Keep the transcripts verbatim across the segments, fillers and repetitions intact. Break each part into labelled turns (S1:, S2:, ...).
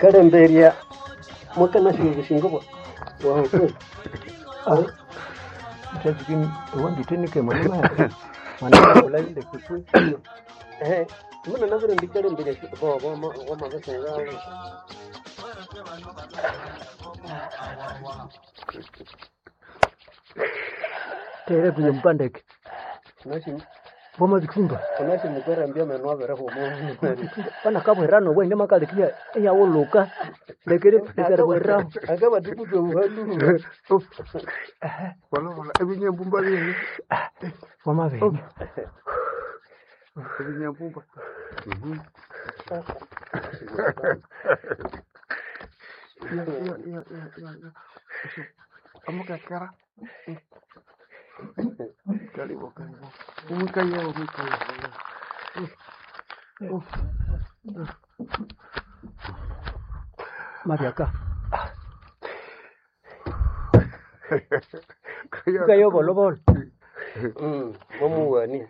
S1: Kalemberya mwakanasya obusingo bwa bwawe kweli.
S2: Wangithenike mwana mwana ndeke kwe
S1: Ehe, muna nabirindi kalemberya bo bo wamabisenga.
S2: tere kuye mpandeke
S1: Unasi
S2: vomabithumba
S1: unasi mukwerambya meno abirihuma.
S2: pana kabwirano bwende makalikia eyawuluka lekere lekeribwiraho
S1: Akabatukutwa buhalu.
S3: Wala ebinyambumba byene
S2: wamabenya
S3: ebinyambumba. Ya ya ya ya ya. Amukakara. Karibu karibu. Umukaya umukaya.
S2: mabyaka
S3: Kaya
S2: ukayobolobolo
S1: Mm, mwamuwani.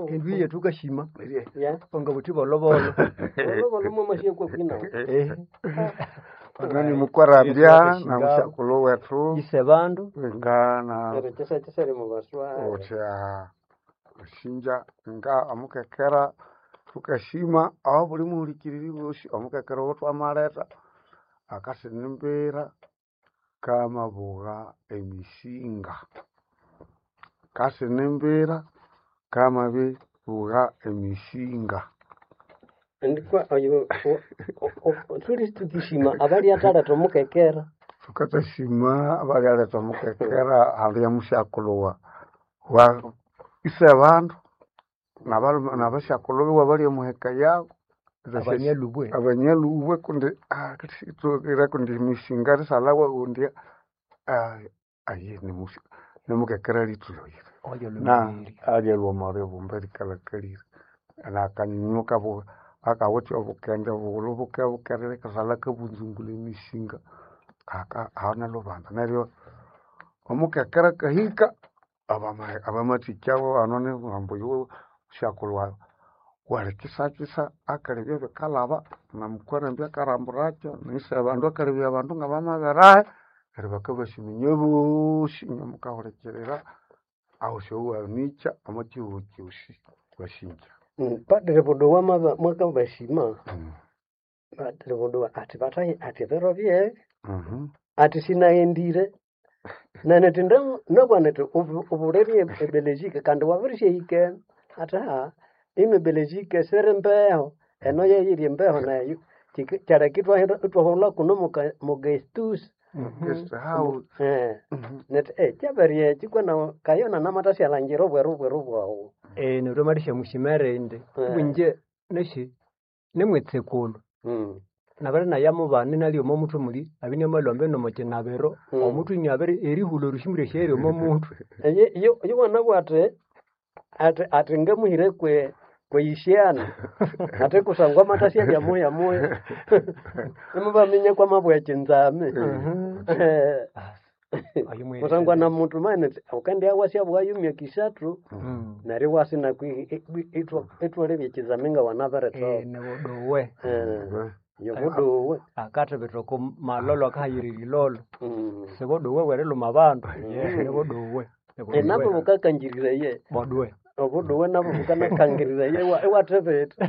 S2: endu yetu ukashima
S1: Ya.
S2: onga buthi bolobolo
S1: Olobolo mwamashia kwa kwina.
S2: Eh,
S3: Nani mukwarambya na mushakulu wetu
S2: ise bandu
S3: nga na
S1: Neryo kyesa kyesali mubaswa.
S3: otya shinja nga amukekera tukashima aho buli muhulikiriri bosi omukekera owo twamaleta akasinimbira kamabugha emisinga kasinimbira kamabibugha emisinga
S1: Ndikwa oyo thuli tukishima abali ataleta omukekera.
S3: tukatashima abalyaletha omukekera hali ya mushakulhu wa wa ise bandu nabalume nabashakulhu biwe bali omuheka yabo
S2: abanyalubwe
S3: abanyalubwe kundi ah, ira kundi emisinga risalawa kundi ah, aye nimusi- nimukekera lithuloyire
S2: oyo
S3: na
S2: lumiri
S3: alya lwoma lyobumba likalakalire nakanyunyu kabu akawithe obukende bughulhu buke bukerere kasala kabunzungula emisinga aka ahana lubanza neryo omukekera kahika abama- abamathikyawo ano ambu yuwe usyakulhu wawu walikisakisa akalebya bikalaba namukwarambya akaramburakyo nise abandu akalebya abandu ngabamaberahe neryo bakabasiminya bosi inywe mukahulikirira aho syowanikya omo kihugho kyosi wasinja
S1: Mm, Padre Buduwa mwaba- mwakabashima. Padre Buduwa ati batayi ati biro bye
S3: Mhm.
S1: ati sinaghendire naneti nabwana ti ubulerie ebelejike kandi wabirishaikene ati ha ino ebelejike siri mbeho eno yeyiri embeho nayo kyaleka itwahulha kuno muka- mugestus
S3: Guest house.
S1: eh
S3: Mhm.
S1: neti eh kyaberye ekyi kwena kayona namathasyalangira obweru bweru bwawu
S2: eh neryo malisha mushimere indi
S1: Eh.
S2: bunje neshi nimwitsikulu
S1: Mm.
S2: nabere nayamubane nali omo muthu muli abine malombe nomokinabiro
S1: Mm.
S2: omuthu inyabere erihulha orushimure sheri omo muthu
S1: Eye yo yowana ati ati ati ngamuhire kwe kweyishyana ate kusangwa amathasya bya moya moya nimubaminya kwamabwa ekinzame Eh,
S2: Ayo mwere.
S1: kusangwa na muntu mane ukandi awasya bwayumya kisathu
S2: Mm.
S1: neryo wasina itwalebya ekinzame nga
S2: Eh,
S1: wanabirithoka
S2: nibuduwe
S1: yobuduwe
S2: akathibitha oko malolo akahayirira ilolo
S1: Mm.
S2: sibuduwe bweriluma bandu nibuduwe
S1: Eh, nabo bukakangiriraye
S2: boduwe
S1: obuduwe nabo bukanakangiriraye iwathibitha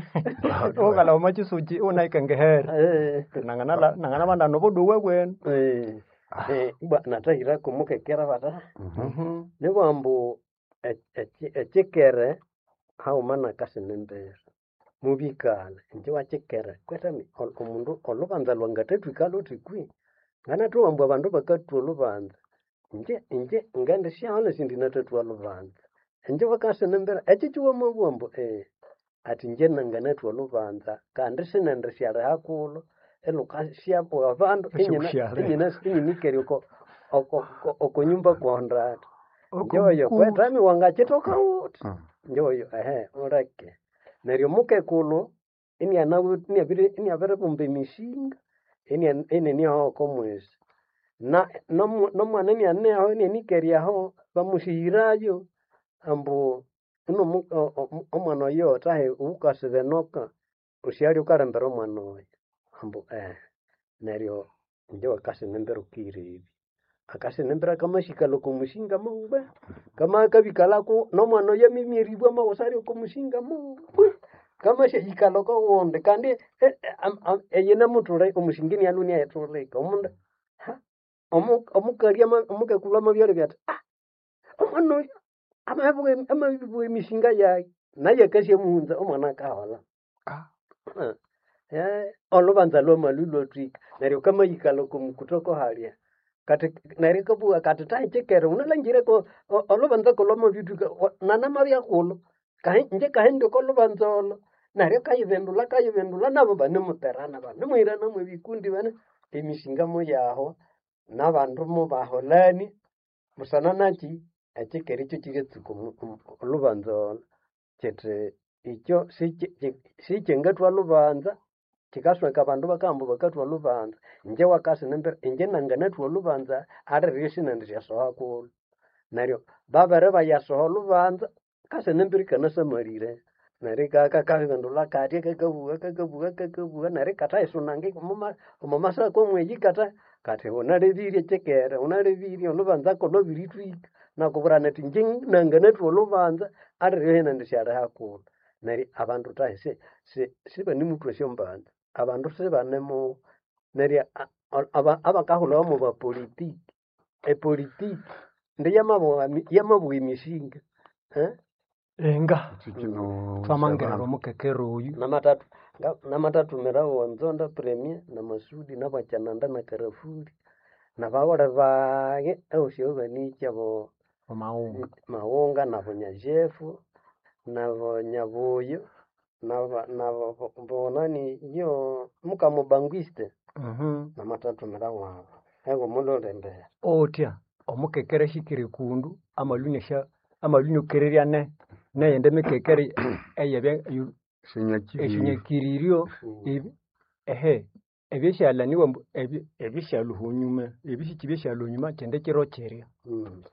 S2: ukala omakisuki unaikengehera
S1: Eh.
S2: nangana nangana nobuduwe bwenu
S1: Eh, eh, bwa natahira kumukekera bata
S2: Mhm.
S1: nibwambu e- eki- ekikere haghuma nakasina embera mubikala inje wakikere kwetami ol- omundu olubanza lwangathathwika luthi kwi nganathuwa ambu abandu bakathwa olubanza inje inje ngendisyaghana sindi nathathwa olubanza inje bakasina embera ekyo kiwamabugha ambu eh, ati inje nanganathwa olubanza kandi sinendisyaliha kulho ilhukasyabugha abandu inyina
S2: Esyokusyalha.
S1: inyina inyinikere oko oko- oko- okonyumba kwondata njoyo
S3: Okumukuru.
S1: kwetami wangakithoka wuthi
S3: Mm.
S1: njoyo ehe uleke neryo mukekulhu inianawu- iniabiri- iniabiribumba emisinga inia- ininiaho oko mwesi na nomu- nomwana inianeho inianikeryaho bamusihirayo ambu Ino omu- o- o- omwana oyo tahe ukasibenoka usyali ukalembera omwana oyo ambu eh neryo inje wakasinembera ukirebi akasinembera kamashikala oko musinga mongwe kama kabikalako nomwana oyo amimyeribwa amawusa oko musinga mongwe kamashayikalha oko wundi kandi e- e- am- am- eyinamuthule omusinga inialwe inayithulika omundu ha omu- omukali ama- omukakulhu amabyalebya athi ah omwana oyo amabugha amabugha emisinga yayi naye akasyamuhunza omwana akaholha
S3: Ah,
S1: Eh, olubanza lwamalhu lwathwika neryo kamayikalha oko mukutoko halya kati neryo ikabugha kati tahikyikere wunalhangireko o- olubanza kolwamabithwika nanamabyakulhu kahi inje kahindi oko lubanza olo neryo kayibindulha kayibindulha nabo banemuterana banemuhirana mwebikundi bane emisinga muyahwa nabandu mubaholani busana naki ekyikere ekyo kyiryatsuka omu- omu- olubanza olo kyithi ikyo sikyi- kyi- sikyangathwa lubanza kyikasweka abandu bakahamba bakathwa lubanza inje wakasinembera inje nanganathwa olubanza aliryo sinendisyasoha kulhu neryo babere bayasoha olubanza kasinembera ikanasamalire neryo ikakakabibindulha katya kakabugha kakabugha kakabugha neryo ikathayisunanga omoma omomasako mweyi ikatha kathi wunalebirye kyikere wunalebirye olubanza kolwabirithwika nakubwira nathi inje nanganathwa olubanza aliryo inendisyaliha kulhu neryo abandu thahi si- si- sibanemuthwa esyombanza abandu sibanemu neryo a- aba- abakahulhawa mwabapolitiki epolitiki ndi yamabugha yamabugha emisinga eh?
S2: Enga
S3: ekyo kino
S2: twamangerera
S3: syabandu
S2: omukekero oyu
S1: namathathu nga- namatattumira wonzonda premier namasudi nabwakyananda nakarafuli nabawule bage ewusi banikya bo
S2: omawunga
S1: mawunga nabonyajefu nabonyabuyo naba nabo bonani yo mukamubangwiste
S2: Mhm.
S1: namatattumira wabo ego mululembera
S2: otya omukekere ashikire kundu amalhu asha amalhu iniokererya ne neyindi mikekere eyebya eyu-
S3: Esyonyakiriryo
S2: esyonyakiriryo
S1: Mm.
S2: ebi- ehe ebyeshalaniwa mbu ebi- ebisyaluha onyuma ebisiki byesyaluha onyuma kyindi kiro kirya
S1: Mm.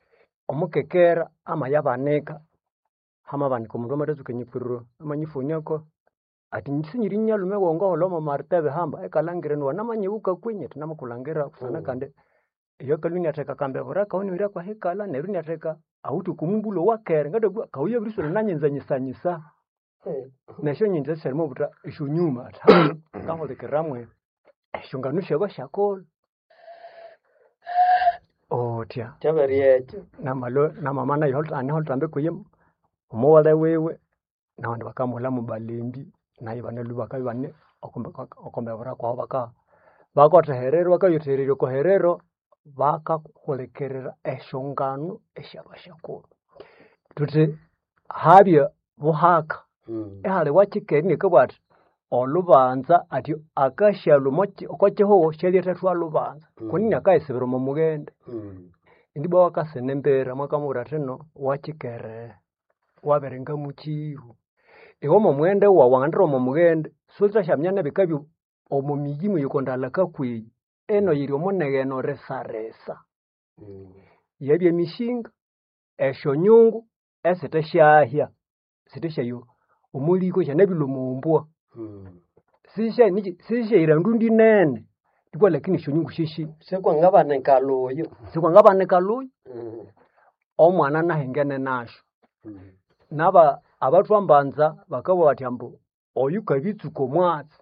S2: omukekera amayabanika hamabanika omundu amathatsuka enyipfuriro amanyifuniako ati sinyiri nyalume wongoholha omo maritebe hamba ekalhangira niwanamanyighuka kwenyi ati namakulhangira kusana
S1: Mm.
S2: kandi iyo akalhwa iniatheka akambebera kawu iniwira kwahikala neryo iniatheka awithe okomumbulho owakere ngathabugha kawu yabiriswera nanyinzanyisanyisa
S1: Eh.
S2: nesyonyinza syalimo butha esyonyuma athi ha ngahulikiriramwe esyongano syabasyakolha otya
S1: kyabere ekyo
S2: namalho namama nayo aniholithambi kuyi omuwalha wiwe nabandi bakamuholha mubalembi nayo banalhwa bakabya ibane okombebera kwabu baka bakotheherera bakayothehererya oko herero bakahulikirira esyongano esyabasyakulhu thuthi habya buhaka
S1: Mm.
S2: ihali wakyikeri nikabugha athi olhubanza athi akasyalhwa omo ki- oko kihugho syalyathethwa lhubanza kunini
S1: Mm.
S2: akayisibira omo mughende
S1: Mm.
S2: indi ibwa wakasina embera mwakamubwira athi no wakyikere wabiringa mukiru iwe omo mughende wawu wangandira omo mughende sulithasyaminya nebikabya omo miyi mweyikondalha kweyi eno yiri omunegheno risarisa
S1: Mm.
S2: yabya emisinga esyonyungu esithasyahya sithasyaya omuliko syanabilwa omumbwa
S1: Mm.
S2: sisyaniki sisyayira ndundi nene ibwa lakini esyonyungu syesyi
S1: Sikwangabanika luyo
S2: sikwangabanika luyo
S1: Mm.
S2: omwana nahingene nasyo
S1: Mm.
S2: naba abathwambanza bakabugha bathi ambu oyu kabitsuka omwatsi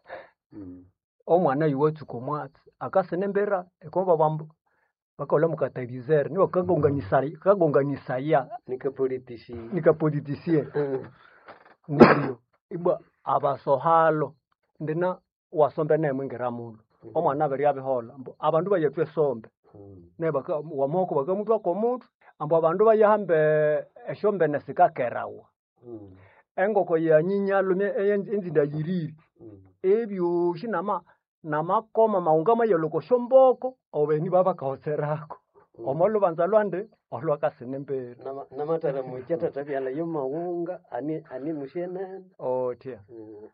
S1: Mm.
S2: omwana oyu watsuka omwatsi akasina embera ikomba ambu bakaghulha mukatalizere niwa kagonganisaya kagonganisaya
S1: Nikapolitisi
S2: nikapolitisie
S1: Mm.
S2: neryo ibwa abasohalo ndina wasombe nemwingira mulhu omwana abiryabiholha ambu abandu bayathwa esombe
S1: Mm.
S2: ne baka wamoko bakamuthwako omuthwe ambu abandu bayahamba esyombene sikakerawa
S1: Mm.
S2: engoko yanyinyalhume enzinda yirire
S1: Mm.
S2: ebyosi nama namakoma maghunga mayalhwa oko syomboko obeni babakahoserako omo lubanza lwandi olwakasina embera
S1: Nama- namatara mukyathatha byala yomawunga ani ani musyenene
S2: otya
S1: Mm.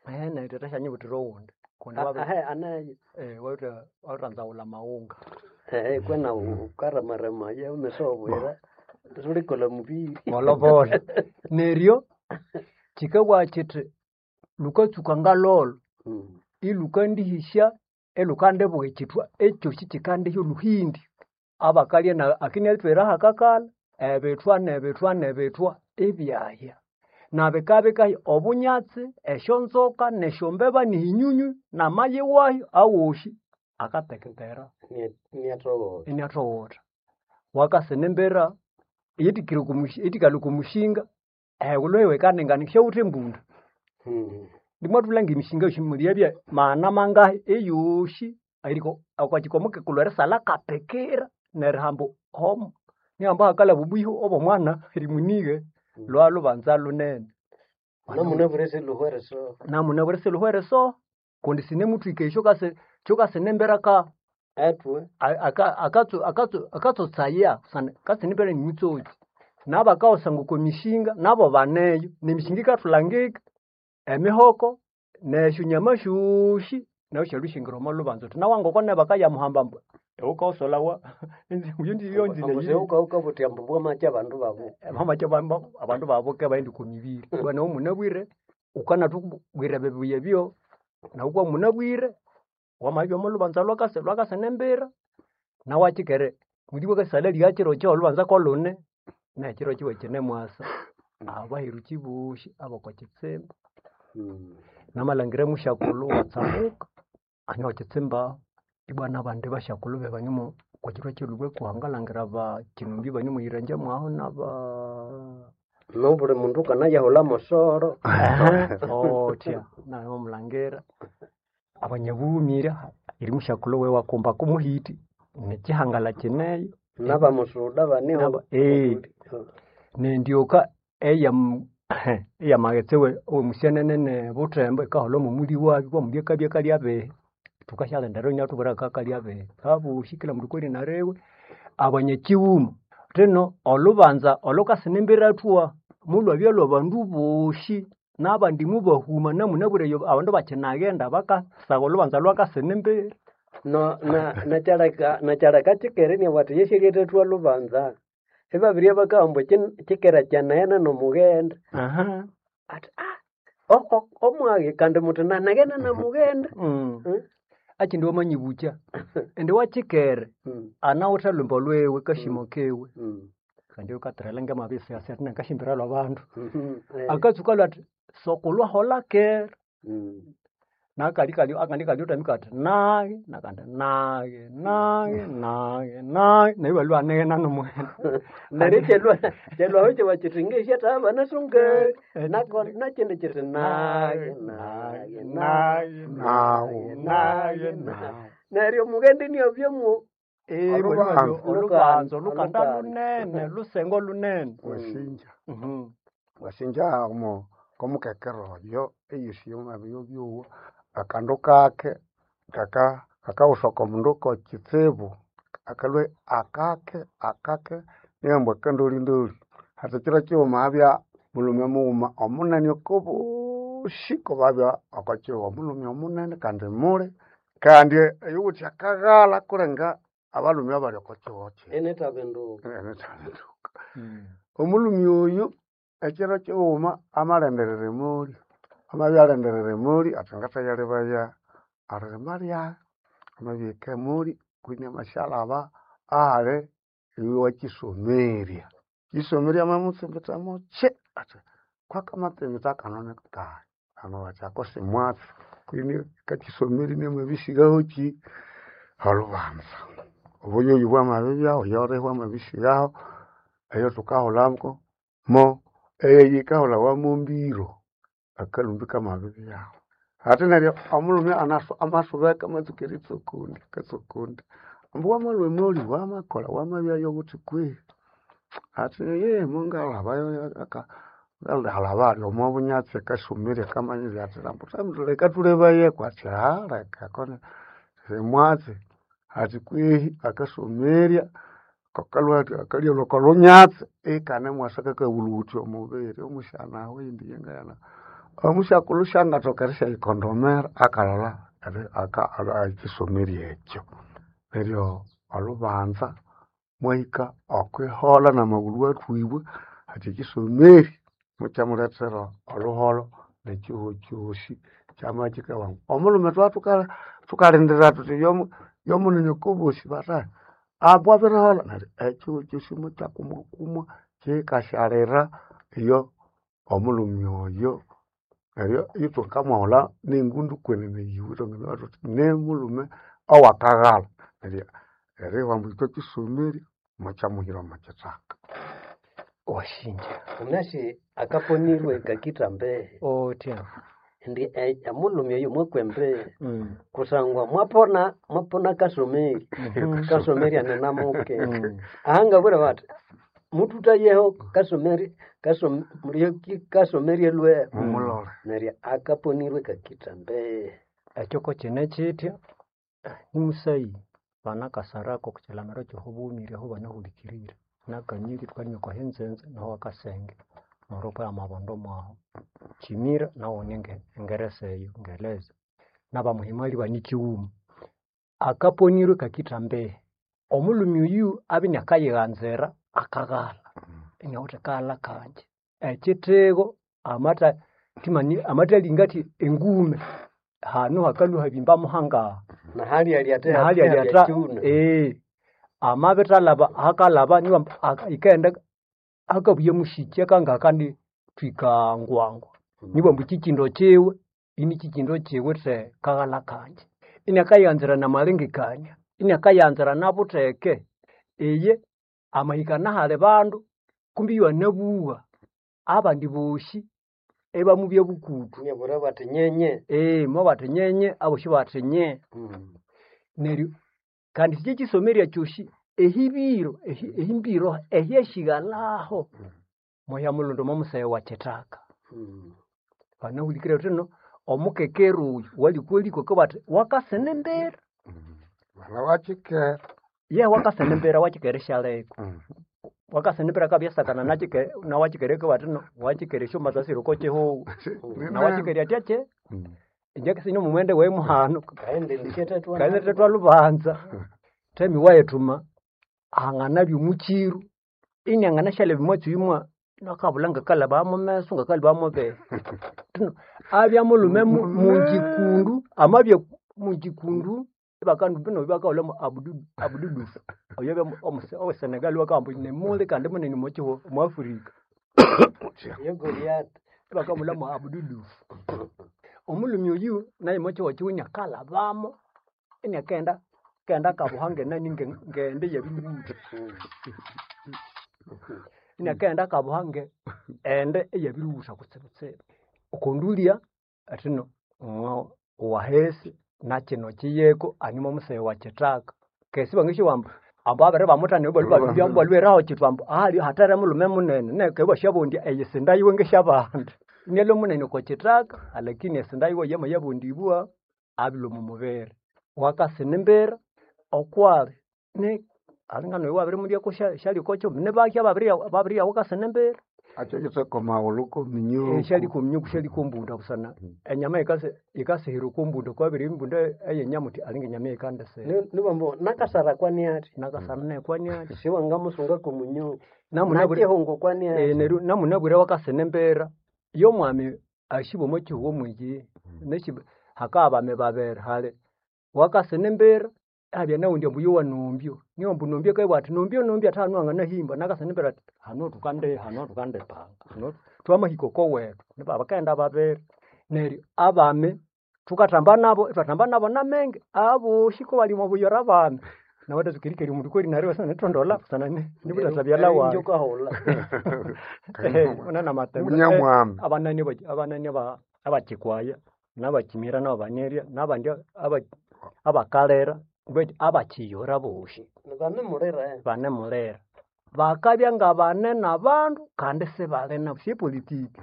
S2: ehe neryo tata syanyibuthira owundi kundi
S1: A-
S2: wabi
S1: ahe anayo
S2: eh wawithe wawithanzawulha amaghunga
S1: ehe kwena ukaramaramaye umesobwira Sulikola mubiri.
S2: Bolobolo. Neryo kikabugha kiti lukatsuka ngalolo
S1: Mm.
S2: ilukandihĩsya ilhukandibuga ekithwa ekyosi kikandihya olhuhindi. Abakalya na akiniathwera hakakala ebithwa nebithwa nebithwa ibyahya. Nabikabya bikahya obunyatsi, esyonzoka, nesyombeba, nehinyunyu, namayi wayo awosi akateketera
S1: Ni- Niatoghola.
S2: iniathowotha. Wakasina embera eyitikire okwa eyithikalha okwa mushinga ehigulhu iwikaningana syawithe embunda.
S1: Mm.
S2: Ndimwathulha ngemishinga yosi mulyabya maghana mangahi eyosi eriko okwa kikomo erisalha akapikira nerihamba omo nihamba hakalhaba obwiho obw'omwana erimunighe lwalhubanza lunene.
S1: Namunabwire siluhwere so.
S2: Namunabwire siluhwere so kundi sinemuthwika esyo kase kyokasina embera aka
S1: Etwe.
S2: aka- akatsu akatsu akatsotsaya kusana kasina embera nimutsotsi. Nabakawusanga okwa mishinga nabo baneyo nemishinga ikathulangika emihoko nesyonyama syosi nayo syalhwishingira omo lubanza uthi nawangoko nebakayamuhamba ambu iwukawusolhawa
S1: Ambu ukauka ambu bwamacha abandu babu.
S2: bamacha abandu babuke baghenda okwa mibiri. Bwana munabwire ukanathubwira ebibuya ebyo nawu kwa munabwire wamabya omo lubanza lwakasi lwakasina embera nawakyikere muli bwakasalha erigha kiro kyo olubanza kolune nekiro kiwe kinemwasa. Abaheruki bosi ab'okwa kitsimba
S1: Mm.
S2: namalhangira musyakulhu watsamuka anywa kitsimba ibwa nabandi basyakulhu bebanyumu okwa kyiro ky'elubweko ngalhangira ba kinumbi banemuyirenje mwaho naba
S1: Nobuli mundu kanayahulha mosoro.
S2: othya namulangira abanyabughumira eri musyakulhu wewe wakumba kumuhiti nekihangala kineyo
S1: Nabamusuda baniho.
S2: Naba- eh. Nendyoka eya eyamaghetse we omusyanene ne Buthembo ikaholha omomuli wabyo kwamuli akabya kalya abihi. Thukasyalindirira inyathubwira akakalya abihi. Abosi kila mundu kweri nariwe abanyakighuma thino olhubanza olhukasina embera athwa mulhwabya lhwabandu bosi nabandi mubahuma namunabwire eyo abandu bakyinaghenda bakasagha olhubanza lwakasina embera.
S1: No na nakyaleka nakyaleka kikere inabugha athi yesyalyathethwa lubanza. Ibabirye bakahamba kikere kyanaghena nomughenda.
S2: Aha.
S1: Athi ah o- o- omwaghe kandi muthi nanaghena namughenda.
S2: Mm.
S1: Mm.
S2: Akindi wamanyibukya indi wakyikere
S1: Mm.
S2: anawithe olhwimbo lwiwe kashimo kiwe
S1: Mm.
S2: kandi ukathirela ngamabisasi athi nakashimbira lwabandu
S1: Mhm. Eh.
S2: akatsuka lwa athi sokulwa hola kera
S1: Mm.
S2: nakali kali akandi kali utamika athi nage nakandi nage nage nage nage nayo balwa anegena nomwene
S1: Neryo kyalwa kyalwaho kyiba kyithi ngesya banasunga nako nakyindi kyithi nage nage nage
S3: Nawu.
S1: nage
S3: Nawu.
S1: nage neryo omughende niabyamo
S2: Eh,
S3: Olubanza.
S2: bwalibabyo olubanza olukanda
S1: Olukanda.
S2: lunene lusengo lunene
S3: Wasinja.
S2: Mhm.
S3: Wasinja omo komukekero oyo eyusi yomabyo byowa akandu kake kaka kakawusoka omundu kokitsibu akalwe akake akake niyambwa akandolindoli hati kiro kighuma abya mulume mughuma omunene okobosi kobabya okwakighuma omulhume omunene kandi muli kandi eyuwithe akaghala kulenga abalhume abali okwakighuma kino
S1: enethabinduka
S3: enethalinduka
S2: Mm.
S3: omulhume oyu ekiro kighuma amalenderera emoli amabya alenderera emoli athi ngathayalebaya eririma lyayi amabihika emoli kwini amasyalhaba ahali iwakyisomerya kisomerya amamutsimbitha mukyi athi kwakamatsimbitha kano nikayi ano bathi ako simwatsi kwini kakyisomerya inamabisighahokyi olhubanza obuyoyo bwamabibyahu oyolihwa amabisighaho eyo thukahulhako mo eyikahulhawa mombiro akalhumbi kamabibyahu ate neryo omulhume anasu amasubeka amatsuka eritsokondi akatsokondi ambu wamalhwa emoli wamakolha wamabyayo ghuthi kwihi athi eeh mungalhabayo aka ngalhalaba ali omo bunyatsi akasumirya akamanyirya athi ambu leka thulebayeku athi haa leka koni simwatsi athi kwihi akasumirya kakalhwa athi akalya oko lunyatsi ikanemwasa kakabulhughutya omubiri omusyana aho eyindi yangayana omusyakulhu syangathoka erisyayikondomera akalholha eri- aka- ekisomerya ekyo neryo olhubanza Mwahika okwiholha n'amagulhu athwibwe ati ekisomeri mukyamulethera olhuholho n'ekihugho kyosi kyama kikawangu. Omulhume thwathuka thukalindira thuthi yomu yomunene okobosi bathahi ambu abiriholha neryo ekihugho kyosi mukyakumwakumwa kyikasyalira iyo omulhume oyo neryo ithukamwahulha n'engundu kwenene yiwe ithwanganabuwa thuthi nimulhume owakaghalha neryo eribugha ambu ithwe kisomeri mukyamuhira omo kithaka.
S2: Washinja
S1: Unasi akaponirwe kakita mbehe
S2: otya
S1: ndi e- omulhume oyo mwakwa embehe
S2: mm.
S1: kusangwa mwapona mwapona kasomeri
S2: Mhm.
S1: kasomeri anenamuke
S2: Mm.
S1: ahangabwira bati mututayeho kasomeri kasom, mulioki kasomeri elwe
S3: Mumulole.
S1: neryo akaponirwe kakita mbehe
S2: Ekyo ko kine kitya nimusayi banakasarako okukyilamiro kyobumire aho banahulikirire nakanyiri thukalima oko hinzenze naho akasenge neryo amabondo mwaho kimira nawo nenge engeresa eyo ngeleza nabamuhimali banikighuma akaponirwe kakitha mbehe omulhume oyu abya inakayighanzira akaghalha inawithe kaghalha kanje ekyithego amatha thimani amathalinga athi engume hanu hakalhwa habimba muhangaha
S1: nahali ate
S2: nahali alyatha ee amabithalaba hakalaba niwa ikaghenda hakabuya mushiki akanga kandi thwika ngwangwa nibwa ambu kyikindo kyiwe ini kyikindo kyiwithe kaghalha kanje inakayighanzira namalengekania inakayanzira nabutheke iye amahika nahali bandu kumbi iwanabugha abandi bosi ibamubya bukutu
S1: nyabura bati nyenye
S2: ee mobathi nyenye abosi bathi nye
S1: mm.
S2: neryo kandi sikye kisomerya kyosi ehibiro ehi- ehimbiro ehyeshighalhaho moya mulundu momuseghe wa kithaka
S1: Mm.
S2: banahulikirira thuthi omukekero oyu walikwalikwa kabathi wakasene embera
S3: Mwana wakikera.
S2: ye wakasene embera wakikere syaleka wakasene embera kabyasakana nakike nawakikere kabathi no wakikere esyombasa siri okwa kihugho nawakikere atya kye inje nomumwende wayi muhano
S1: kaende ndishetetwa
S2: kaende thwalhubanza themi wayithuma hanganabya omukiru inianganasyalaba omwatsi oyu mwa nakabulha ngakalaba mumeso ngakalaba mubere Thino abya mulhume mu- mungikundu amabya mungikundu ibakandu bino bakahulha abudu abududufu oyo abya omuse owe Senegal bakahamba nemuli kandi munene omwa omu Africa
S1: yo Goliath
S2: ibakamulha mu abududufu omulhume oyu naye omwa kihugho iniakalhabamo iniakaghenda kaghenda akabuha ngenani nge- ngende eyabiriwutha iniakaghenda akabuha nge ende eyabiriwutha kutsibutsibu okondulya athino ng'o wahesi nakino kiyeko animo omuseghe wa kithaka kesi bangisyowa ambu ambu abiri bamuthana ibalwe balweraho kithu ambu ali hathere mulhume munene neke ibasyabondya eyisinda yiwe ngesyabandi inialwe munene okwa kithaka alakini esinda yiwe yamayabondibwa abilwa omu mubiri wakasina embera okwali ni alinga noyo wabirimulhyako syaliko kyuma nibaki ababiriya babiriya wakasina embera
S3: Akyo kitheko maghulhu kominyuku.
S2: syaliko minyuku syaliko mbunda busana enyama yikasi yikasihira oko mbunda kwabiri embunda eyenyamuthi alinga enyama yikandisira
S1: nibambo nakasara kwani ati
S2: nakasana nekwani ati
S1: siwangamusunga komunyu
S2: namunabwire
S1: nakihungo kwani
S2: eh,
S1: ati
S2: neryo namunabwire wakasina embera yomwami ashiba omo kihugho mwiki neshi hakabya bami babiri hali wakasina embera abya nawundi ambu yowa nombyo niyo ambu nombyo akabugha athi nombyo nombyo athi hanu wanganahimba nakasina embera athi hano thukandi hano thukandipanga hano twamahika okowethu niba bakaghenda babiri neryo abami thukathamba nabo ithwathamba nabo namenge abosi kobali omo buyora abami nawathatsuka erikeri omundu kweri neryo iwasanithondola busana ni- nibuthathabyalha wayi
S1: njokahola
S2: unana matembe
S3: Munyamwami.
S2: abanani aba- abanani aba- abakikwaya nabakimira nababanerya nabandi aba- abakalera betu abakiyora bosi
S1: banemulira
S2: banemulera bakabya nga banene abandu kandi sibali nabo syepolitiki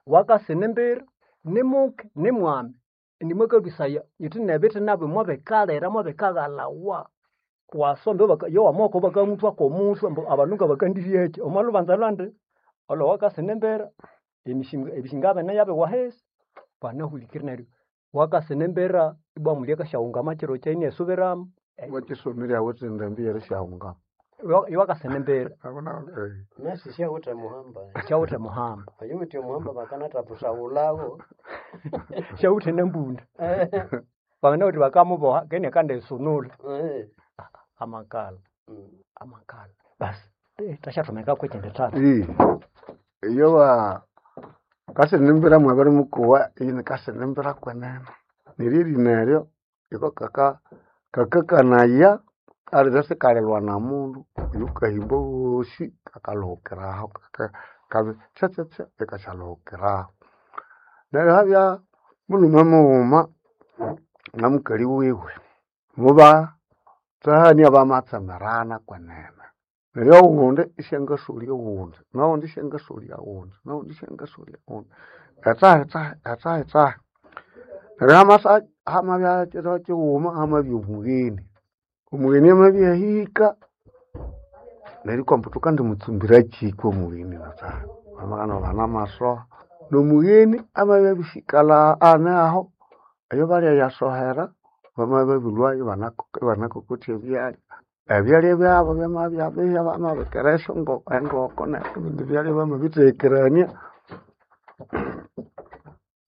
S2: wakasina embera nimuke nimwami nimwakabisaya yithi nebithi nabyo mwabikalera mwabikaghalawa wasombe baka- yo wamoko bakamuthwa komuthwa ambu abandu nga bakandiryeki omwalhubanza lwandi olwo wakasina embera emisinga ebisinga bene yabiwahesi banahulikiri neryo wakasina embera ibwa mulya kasyaghungama kiro kyayi inesubiramu
S3: Wakisomeri awithe endambi yerishahunga.
S2: Iwakasene mbere
S1: Nasi syawithe muhamba.
S2: syawithe muhamba
S1: Oyuwithe omuhamba bakanathapusaghulhawo.
S2: syawithe nembunda bangana uthi bakamuboha kene akandisunula
S1: Eh.
S2: amakala
S1: Mm.
S2: amakala basi eh, tashathomeka kwekindi thatha
S3: iyo wa kasinimbira mwabiri mukuwa ini kasinimbira kwenene neryo erina eryo iko kaka kakakanaya alire sikalilwa na mundu oyukahimba wosi kakalhuhukiraho kaka kabi tsyatsyatsya ikasyaluhukiraho neryo habya mulhume mughuma na mukali wiwe mubatsahania bamatsemerana kwenene neryo oghundi isyangasolya oghundi noghundi isyangasolya oghundi noghundi isyangasolya oghundi etsaha etsaha etsaha etsaha neryo hamasa hamabya kiro kighuma hamabya omugheni omugheni amabya ahika neryo ikwamba thukandimutsumbira kyi kwomugheni natsaha bamakana banamasoha nomugheni amabya abisikalha ane aho eyo balya yasohera bamabya babilhwayo ibanakokotya ebyalya ebyalya byabo byamabya biya bamabikira esyongoko engoko nebindi byalya bamabitheghekerania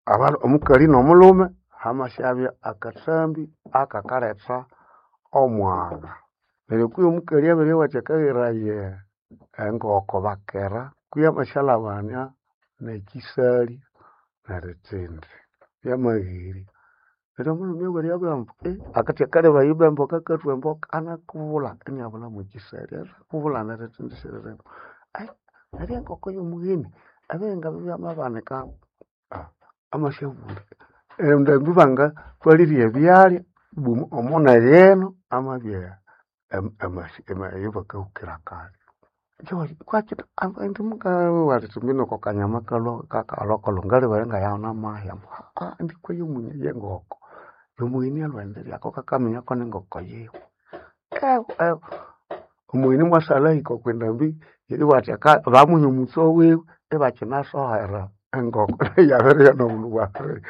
S3: aba- omukali nomulhume hamasyabya akathambi akakaletha omwagha neryo kwihi omukali abiryowa akagheraya engoko bakera kwihi amasyalhabania nekisali neritsindi byamahiri neryo omulhume abwire abwira ambu eh akathi akalebaya ibwa emboka akathwa emboka anakubulha inabulha mwekisali anakubulha neritsindi isiririmo ai neryo engoko yomugheni ebihinga byamabanika ah amasyabulha endambi bangathwalirye ebyalya ibwa omuneghe amabya em- emasi eyabakahukira kale kwaki oko kanyama kalwa kakalwakalwa ngalibere ngayana mahya ambu ah ndikwa yomunye yengoko yomugheni alwendiryako kakaminya ko nengoko yiwe ewu ewu omugheni mwasalha ahika okwindambi eribugha athi bamuha omutse wiwe ibakyinasohera engoko yabiribya nobundu bwabiri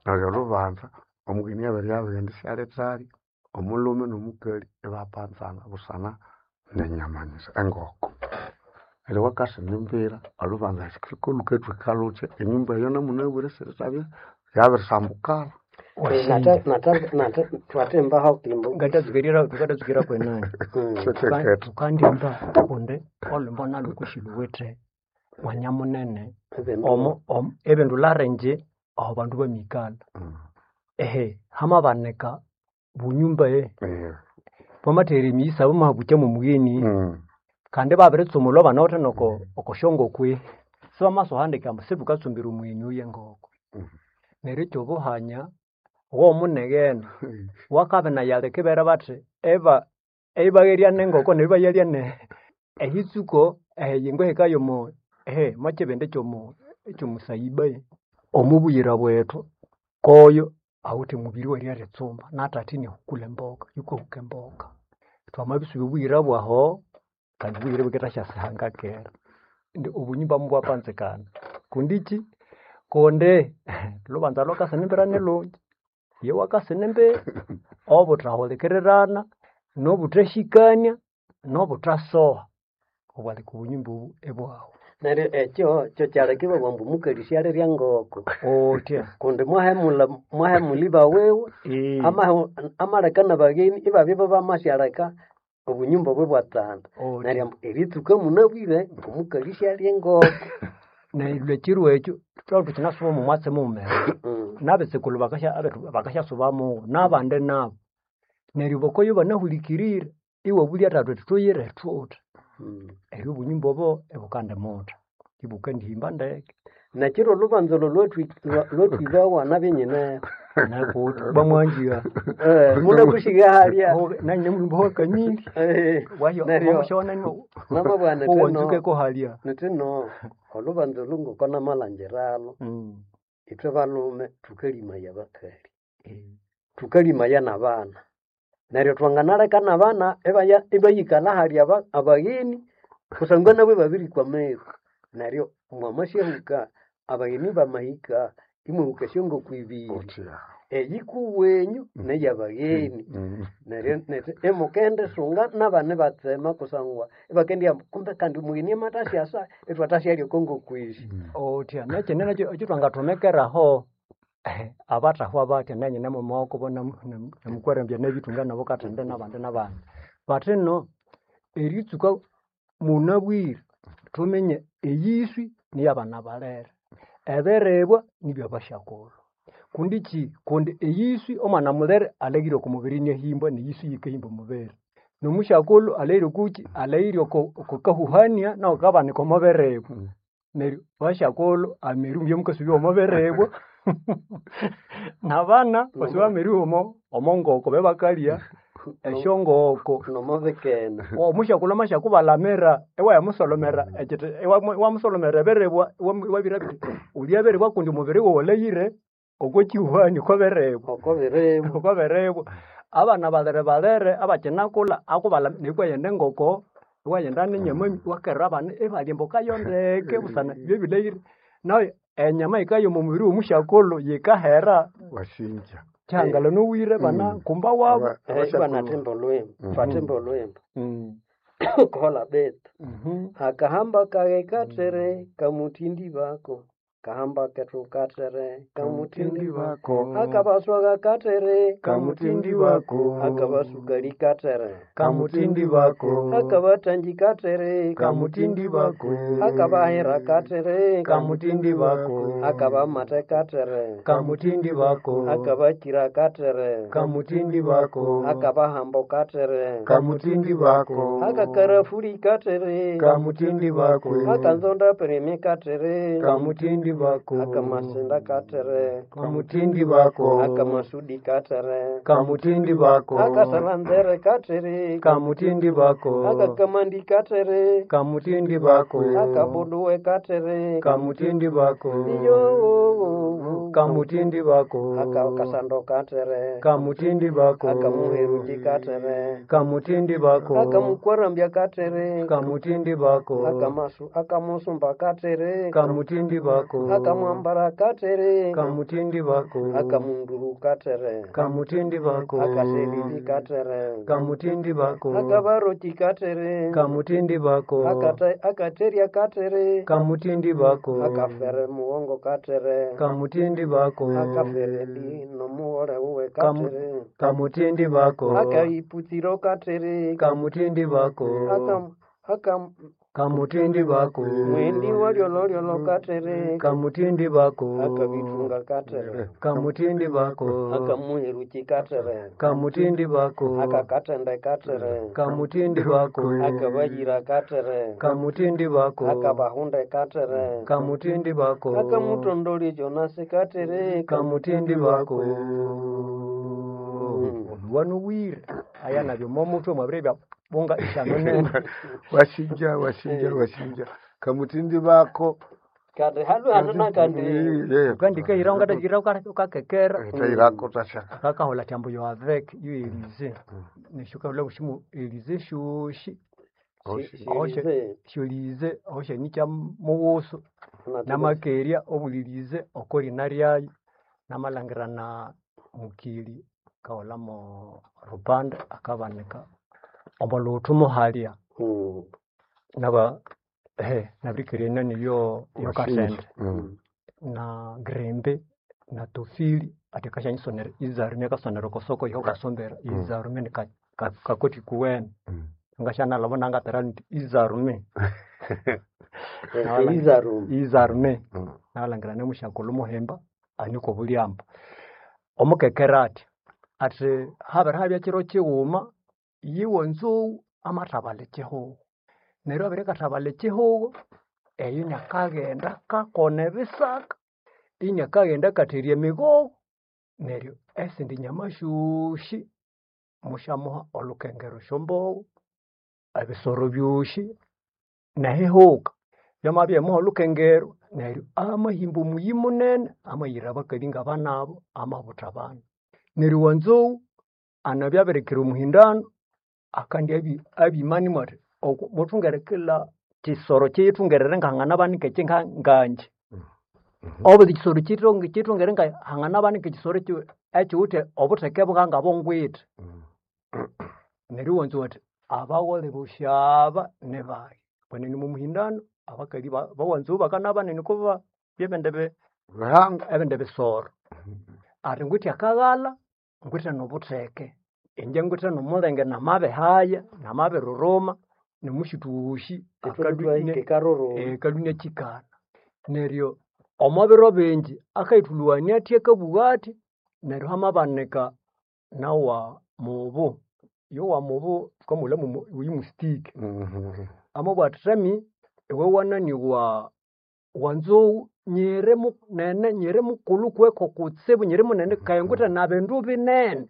S3: neryo olhubanza omugheni abiribya abighenda isyalithali omulhume nomukali ibapanzana busana nenyama nyisa engoko neryo wakasinimbira olhubanza lhukathwika luthya enyumba eyo namunabwire sirithabya yabirisambukala
S1: Nata nata nata twathembaho kimbo.
S2: ngatatsukirira tukatatsukira kwenani
S1: Mm.
S3: Kyekekethe
S2: tukandimba kundi olwimbo nalwo kushilhuwithe mwanya munene
S1: Ebindu.
S2: omo omo ebindu larenje aho bandu bamikalha ehe hamabanika bunyumba e bwamathere emiyisa bamahabukya mwomugheni kandi babiritsumulwa banawithe noko okosyongokwe sibamasohandika ambu sithukatsumbira omugheni oyu engoko neryo ekyobuhanya womuneghene wakabinayaleka ibera bathi eba eibagherya nengoko neryo ibayalya ne ehitsuko ehiyingo ehikayomo ehe mokyibindi kyomu ekyomusayiba omubuyira bwethu koyo awithe mubiri weryeritsumba nathatha inahukula emboka yukahuka emboka twamabisuba obuyira bwaho kandi obuyira bukithasyasihanga kera indi obunyumba mubwapanzikana kundi ki kundi lhubanza lwakasinimbira nilhungi iye wakasinimbira obuthahulikirirana nobuthahikania nobuthasoha obwaleka obunyumba obu ibwahu
S1: Neryo ekyo kyo kyaleka ibabugha ambu omukali syalirya ngoko.
S2: otya
S1: Kundi mwahemulha mwahemulha iba wiwe
S2: ee
S1: amahe- amaleka nabagheni ibabya bamasyaleka obunyumba obwo ibwatsanda.
S2: otya
S1: Neryo ambu eritsuka munabwire omukali syalya engoko.
S2: neryo ekiro ekyo thutholere thukinasuba omo mwatsi mughumera
S1: Mm.
S2: nabetsukulhu bakasya abethu bakasyasubamu nabandi nabo neryo bakoyo banahulikirire iwabulya thathu ethi thuyire thuthi
S1: Mm.
S2: eryo obunyumba obo ibukandimutha ibukandihimba ndeke
S1: Nekiro olhubanza olho lwathwi- lwa- lwathwibawa nabinyineho.
S2: nakuthi bamwanjigha
S1: Eh, munakushiga halya.
S2: nanyine mulhumba wakamili
S1: Eh,
S2: wahyo
S1: neryo
S2: wamushona
S1: namabugha nithino
S2: owanzukeko halya
S1: nithino olhubanza olhu ngoko namalhangiralho
S2: Mm.
S1: ithwe balhume thukalimaya abakali
S2: Eh.
S1: thukalimaya nabana neryo twanganaleka nabana ibaya ibayikalha hali aba abagheni kusangwa nabo ibabirikwa ameru neryo mwamasyahuka abagheni bamahika imwahuka esyongoko ibiri
S3: otya
S1: Eyikuwenyu neyabagheni.
S3: Mm.
S1: Neryo neryo imukendisunga n'abana ibatsema kusangwa ibakendighamba kumbe kandi omugheni amatasyasa ithwatasyalya okongokwishi.
S2: Otya nekyindi nakyo ekyithwangathomekeraho abathahwa batya nanyine mumawoko namukwarambya nabithunga nabo kathende nabandi nabandi. Bathino eritsuka munabwire thuminye eyiswi niyabana balere, ebiribwa nibyabasyakulhu. Kundi kyi? Kundi eyiswi omwana mulere alhaghire oko mubiri iniahimbwa neyiswi yikahimba omubiri. Nomusyakulhu alhaghire okukyi? Alhaghire oko kahuhania nawu kabanika omo biribwa. Neryo basyakulhu ameru mubye mukasubya omo biribwa nabana basuba ameru omo omongoko bebakalya esyongoko.
S1: Nomubikene.
S2: Omusyakulhu amasyakubalamira iwayamusolomera ekyithi iwamusolomera ebiribwa iwabirabya wulya biribwa kundi omubiri wawu walhaghire okwa kyihuhani okwa biribwa.
S1: Oko biribwa.
S2: Okwa biribwa. Abana balere balere abakyinakulha akubalamira iwaghenda engoko, iwaghenda nenyama iwakerera abana ibalya emboka yondeke busana byebilhaghire. Nayo enyama yikaya omo mubiri womusyakulhu yikahera
S3: Wasinja.
S2: kyihangala nowire bana kumba wabo.
S1: Ibanathemba olhwimbo, bathemba olhwimbo. Kola betu. Akahamba kage kathere kamuthindi bako. Kahamba kethu kathere kamuthindi bako. Akabaswaga kathere
S3: Kamutindi bako.
S1: Akabasukali kathere
S3: Kamutindi bako.
S1: Akabathangi kathere
S3: Kamutindi bako.
S1: Akabahera kathere
S3: Kamutindi bako.
S1: Akabamate kathere
S3: Kamutindi bako.
S1: Akabakira kathere
S3: Kamutindi bako.
S1: Akabahambo kathere
S3: Kamutindi bako.
S1: Akakarafuri kathere
S3: Kamutindi bako.
S1: Akanzonda pereme kathere
S3: Kamutindi bako.
S1: Akamasinda katere
S3: Kamutindi bako.
S1: Akamasudi katere
S3: Kamutindi bako.
S1: Akasalanzere katere
S3: Kamutindi bako.
S1: Akakamandi katere
S3: Kamutindi bako.
S1: Akabuduwe katere
S3: Kamutindi bako.
S1: Iyo
S3: Kamutindi bako.
S1: Akakasando katere
S3: Kamutindi bako.
S1: Akamuheruki katere
S3: Kamutindi bako.
S1: Akamukwarambya katere
S3: Kamutindi bako.
S1: Akamasu akamusumba katere
S3: Kamutindi bako.
S1: Akamwambara katere
S3: Kamutindi bako.
S1: Akamunduru katere
S3: Kamutindi bako.
S1: Akaselili katere
S3: Kamutindi bako.
S1: Akabaroki katere
S3: Kamutindi bako.
S1: Akata akaterya katere
S3: Kamutindi bako.
S1: Akafere muwongo katere
S3: Kamutindi bako.
S1: Akafere lino muwole wuwe
S3: Kamu-
S1: katere
S3: Kamutindi bako.
S1: Akaiputsiro katere
S3: Kamutindi bako.
S1: Akam akam
S2: Kamutindi bako.
S1: Mwendi walyololyolo katere
S2: Kamutindi bako.
S1: Akabitunga katere
S2: Kamutindi bako.
S1: Akamuheruki katere
S2: Kamutindi bako.
S1: Akakatende katere
S2: Kamutindi bako.
S1: Akabayira katere
S2: Kamutindi bako.
S1: Akabahunde katere
S2: Kamutindi bako.
S1: Akamutondoli Jonasi katere
S2: Kamutindi bako. Wanuwire aya nabyo momutwe mwabire bya bunga ishano nene.
S3: Wasinja wasinja wasinja. Kamutindi bako.
S1: Kandi halu hanu nakandi
S2: Ukandika ira ungatachira ukakekera
S3: Tairako tasha.
S2: kakahola chambo yo avec yo elize neshuka bushimu elize shushi
S1: Shirize
S2: shulize oshe nicha muwusu namakeria obulilize okolina lyayo namalangira na mukili kaholamo rupande akabanika omo luthu muhalya
S1: Mm.
S2: naba he nabirikeria nani yo yo kasende
S3: Mm.
S2: na grembe na tofili ati kashanyisonera izarume akasonera okosoko iho kasombera izarume ni ka- ka- kakoti kuwene
S3: Mm.
S2: ngashanalabo nangatera nti izarume
S1: Eh, Izarume
S2: izarume
S3: Mm.
S2: nalangira nemushakulu muhemba aniko bulyamba omukekera ati ati habere habya kiro kighuma yiwe nzou amathabala ekihugo neryo abere kathabala ekihugo eyo inakaghenda kakona ebisaka inakaghenda katherya emigogo neryo esindi nyama syosi musyamuha olhukengero esyombogo ebisoro byosi nehihuka byamabya olhukengero neryo amahimba omuyi munene amayira abakali ngabanabo amabutha abana neryo wanzou anabya abirikira omuhindano akandi abi- abimanimu athi "Oku- muthungere kila kisoro kyiyithungerere nganganabanika ekyi nga- ngangye Obundi ekisoro kitonge kitongere nga hangana banika ekisoro ekyi ekiwithe obutheke bwanga bongwithe. Neryo iwanza wathi abagholho bosi aba nibayi. Kwenene omo muhindano abakali ba bawanzou bakana banene kuba byebindi bi
S3: Bihanga.
S2: ebindi bisoro. Ati ngwithe akaghalha, ngwithe nobutheke. Ingye ngwithe nomulenge namabihaya, namabiriruma, nomushuthu wosi
S1: Ithwe
S2: akalhwa
S1: twahika ekaruruma.
S2: akalhwa inakyikana. Neryo omo biro bingi akayithulhughania athi akabugha athi neryo hamabanika nawa mubu. Yowa mubu thukamulha mwo oyu mustiki. Amabugha athi thami iwe wanani wa wanzou nyiri munene nyiri mukulhu kuweko kutsibu nyiri munene kaya ngwithe na bindu binene.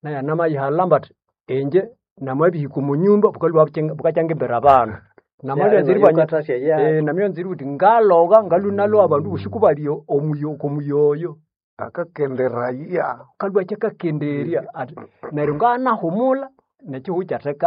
S2: Naye anamayihalhamba athi inje namabihika omo nyumba bukalhwa bukakya ngimbira abana. Namalyanza eribya
S1: Nayo
S2: eh namyanza eribugha indi ngalogha ngalhwa inalogha abandu bosi kubali omuyo omuyoyo.
S3: Akakenderaya.
S2: Kalhwa akyakakenderya athi neryo nganahumulha nekihugho kyatheka.